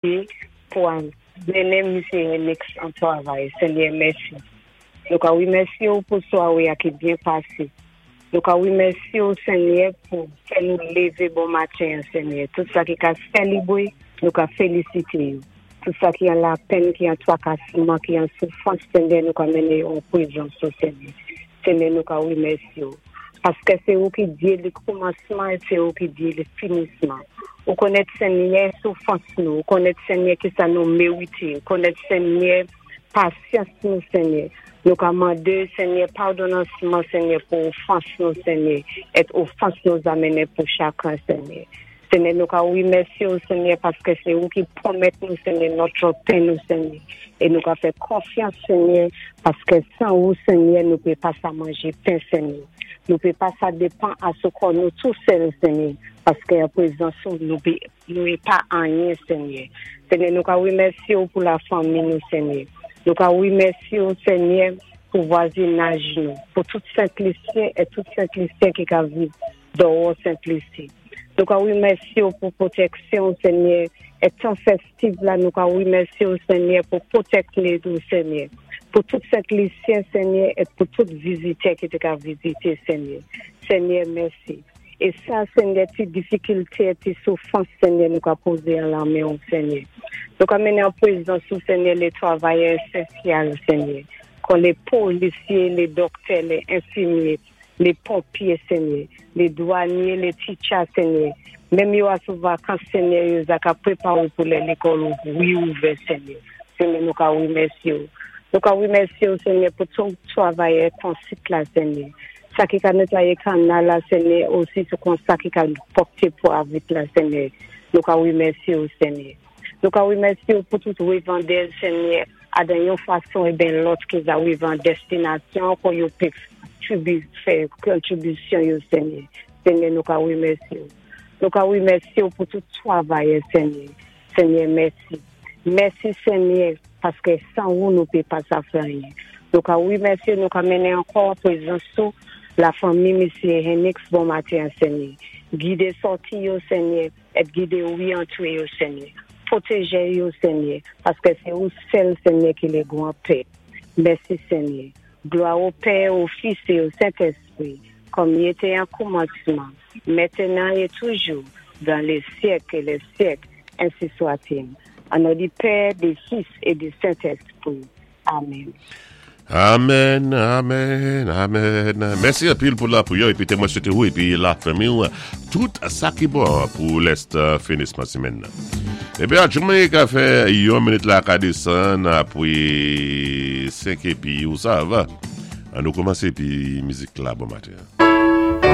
Pou al mennen misye Henix an travay. Senyè, mèsi. Nou ka remèsye ou pou sware a ki byen pase. Nou ka remèsye ou, Senyè, pou fè nou leve bon maten an, Senyè. Tout sa ki ka selebre, nou ka felisite yo. Tout sa ki an lapenn, ki an twakasman, ki an soufrans, Senyè, nou ka mennen yo an prezans ou, Senyè. Senyè, nou ka remèsye ou. Paske se ou ki Dye li koumansman e se ou ki Dye li finisman. Ou konnèt, Senyè, soufrans nou. Ou konnèt, Senyè, ki sa nou merite. Ou konnèt, Senyè, pasyans nou, Senyè. Nou ka mande, Senyè, padonansman, Senyè, pou ofans nou, Senyè, et ofans nou zamennen pou chakren, Senyè. Senyè, nou ka remèsye ou, Senyè, paske se ou ki pwomèt nou, Senyè, nòt pen nou, Senyè. E nou ka fè konfyans, Senyè, paske san ou, Senyè, nou pe pa sa manje pen, Senyè. Nou pe pa sa depan a sou kò nou tou sèl, Senyè, paske an prezans ou, nou pe, nou e pa anyen, Senyè. Senyè, nou ka remèsye ou pou lafanmi nou, Senyè. Nou ka remèsye ou, Senyè, pou vwazinaj nou, pou tout Sentlisyen e tout Sentlisyen ki ka viv dòwò Sent Lisi. Nou ka remèsye ou pou pwotèksyon, Senyè, e tan festif la, nou ka remèsye ou, Senyè, pou pwotèk nou, Senyè. Pou tout Sent Lisyen, Senyè, e pou tout vizitè ki te ka vizite, Senyè. Senyè, mèsi. E sa, Senyè, ti difikilte, ti soufrans, Senyè, nou ka poze an lamen ou, Senyè. Nou ka mennen an prezans ou, Senyè, le travayè esansyèl, Senyè. Kon le polisye, le doktè, le enfimye, le ponpye, Senyè, le dwanye, le teacher, Senyè. Menm yo a sou vakans, Senyè, yo za ka prepare pou lè lekòl ouvri ouvè, Senyè. Senyè, nou ka remèsye ou. Nou ka remèsye ou, Senyè, pou tout travayè konsit la, Senyè. Sa ki ka netwaye kanal la, Senyè, osi sou kon sa ki ka pwòpte pou avit la, Senyè. Nou ka remèsye ou, Senyè. Nou ka remèsye ou pou tout revandè, Senyè, a dan yon fason e ben lòt ki za rive destinasyon kon yo pe fè kontribisyon yo, Senyè. Senyè, nou ka remèsye ou. Nou ka remèsye ou pou tout travayè, Senyè. Senyè, mèsi. Mèsi, Senyè, paske san ou nou pe pa sa fè anyen. Nou ka remèsye, nou ka mennen ankò prezans ou lafanmi Mesye Henix bon maten, Senyè. Gide sòti yo, Senyè, et gide wi antre yo, Senyè. Pwoteje yo, Senyè, paske se ou sèl, Senyè, ki le gran Pè. Mèsi, Senyè. Glwa o Pè, o Fis e o Sentespri, kòm li te an koumansman, mentnan e toujou, dan le syèk e le syèk, ensi swa-t-il. An non di Pè, di Fis e di Sentespri. Amen. Amen, amen, amen. Mèsi anpil pou lapriyè epi te mwen swete ou epi lafanmi ou tout sa ki bon pou lès finisman semèn nan. Epi a ka fè yon minit la ka desann apre 5 epi ou sav. An nou kòmanse epi mizik la bon maten.